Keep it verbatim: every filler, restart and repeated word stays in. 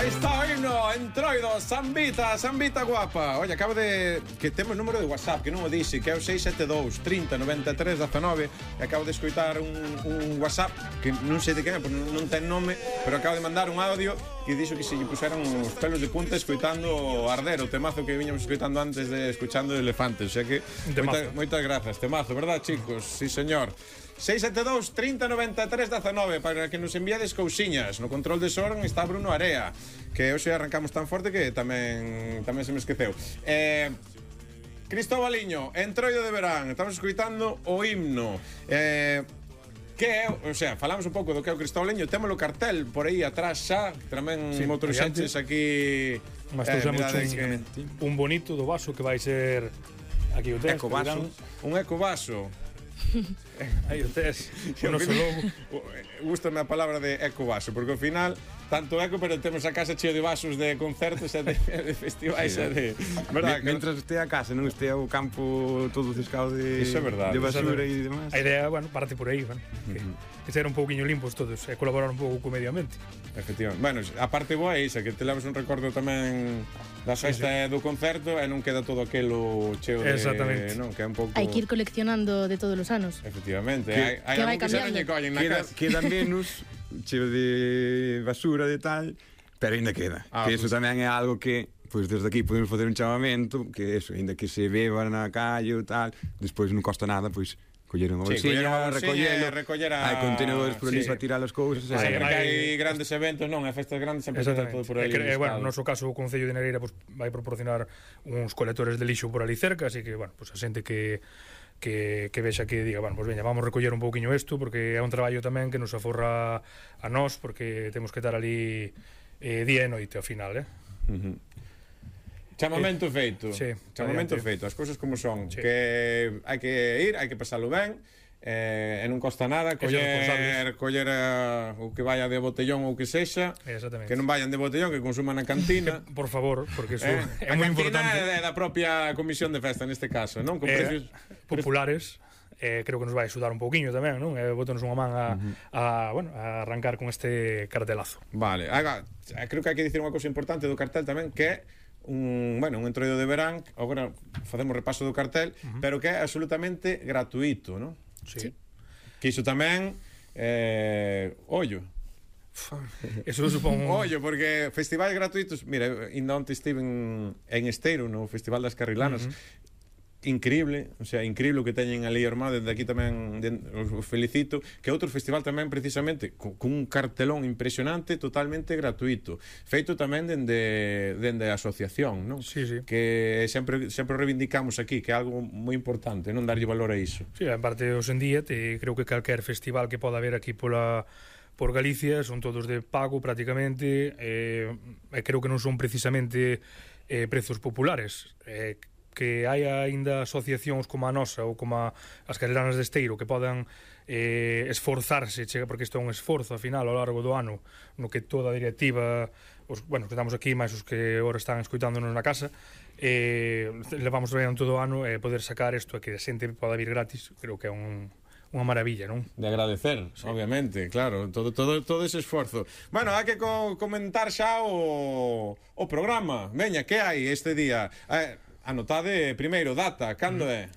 Aí está o himno, Entroido, Sambita, Sambita guapa. Oye, acabo de... que temos número de WhatsApp, que non o dixe, que é o seis sete dous, trinta, noventa e tres, dezenove. E acabo de escoitar un, un WhatsApp, que non sei de quen é, porque non ten nome, pero acabo de mandar un audio que dixo que se lle puseran os pelos de punta escoitando Arder, o temazo que viñamos escoitando antes de escuchando Elefantes. O sea que, moita, moitas grazas, temazo, verdad, chicos? Sí, señor. seis sete dous, trinta, noventa e tres, dezenove para que nos enviades cousiñas. No control de son está Bruno Area, que hoxe arrancamos tan forte que tamén tamén se me esqueceu. Eh, Cristóbaliño, Entroido de verán. Estamos escoitando o himno. Eh, que é, o sea, falamos un pouco do que é o Cristóbaliño. Temos o cartel por aí atrás xa, tamén sí, moitos xentes aquí. Mas eh, un, que... un bonito do vaso que vai ser aquí o tes, ecovaso. Un ecovaso. Aí o tes, o noso logo. Gústame a palabra de ecovaso, porque ao final tanto eco, pero temos a casa cheo de vasos de concertos e de, de festivais sí, e de... Verdad, que Mentras este a casa, non este o campo todo ciscado de, Iso é verdade, de basura e demás. A idea, bueno, parte por aí, bueno, que, uh-huh. que ser un pouquiño limpos todos e colaborar un pouco co medio ambiente. Efectivamente. Bueno, a parte boa é isa, que te levas un recordo tamén da festa sí, sí. do concerto e non queda todo aquelo cheo de... Exactamente. Non, que é un pouco... Hai que ir coleccionando de todos os anos. Efectivamente. Que, hai hai que algo que xa non lle collen na queda, casa. Queda menos cheo de basura de tal, pero ainda queda. Ah, que pues... eso tamén é algo que, pois pues, desde aquí podemos facer un chamamento, que eso, ainda que se beba na calle ou tal, despois non costa nada, pois coller unha bolsilla, sí, recollelo, recoller a... hai contenedores por ali sí. para tirar as cousas. Sempre que hai grandes eventos, non, hai festas grandes, sempre ten todo por ali. Eh, bueno, no noso caso o Concello de Negreira pues, vai proporcionar uns colectores de lixo por ali cerca, así que, bueno, pues a xente que que, que vexa que diga, bueno, pues veña, vamos recoller un pouquiño isto, porque é un traballo tamén que nos aforra a nós, porque temos que estar ali eh, día e noite ao final, eh? Uh-huh. Chamamento eh, feito. Sí, chamamento feito, as cousas como son, sí. Que hai que ir, hai que pasalo ben. Eh, e non costa nada coller, coller uh, o que vaya de botellón ou que sexa, que non vayan de botellón, que consuman na cantina. Por favor, porque eso eh, é moi importante. A cantina é da propia comisión de festa neste caso, non? Con eh, precios populares. Eh, creo que nos vai axudar un pouquiño tamén, non? Eh, botonos unha man a, uh-huh. a, bueno, a arrancar con este cartelazo. Vale, aga, creo que hai que dicir unha cousa importante do cartel tamén, que é un, bueno, un entroido de verán. Agora facemos repaso do cartel, uh-huh. pero que é absolutamente gratuito, non? Sí. sí. Que iso tamén eh, ollo. Eso supón un... ollo, porque festivais gratuitos, mira, ainda onte estive en, en Esteiro, no Festival das Carrilanas. Uh-huh. Increíble, o sea, increíble o que teñen ali armado. Desde aquí tamén os felicito. Que outro festival tamén precisamente con, con un cartelón impresionante, totalmente gratuito, feito tamén dende, dende a asociación, non? Sí, sí. Que sempre, sempre reivindicamos aquí, que é algo moi importante, non darlle valor a iso. Sí, en parte hoxe en día te, creo que calquer festival que poda haber aquí pola por Galicia son todos de pago prácticamente, e eh, creo que non son precisamente eh, prezos populares. Eh, que hai aínda asociacións como a nosa ou como a, as Carrilanas de Esteiro que podan eh, esforzarse, chega, porque isto é un esforzo ao final ao largo do ano, no que toda a directiva, os, bueno, que estamos aquí máis os que agora están escoitándonos na casa, eh, levamos traballando todo o ano e eh, poder sacar isto e que a xente poda vir gratis, creo que é un unha maravilla, non? De agradecer, sí. Obviamente, claro, todo, todo, todo ese esforzo. Bueno, hai que co comentar xa o, o programa. Veña, que hai este día? Eh, anotade primeiro, data, cando é?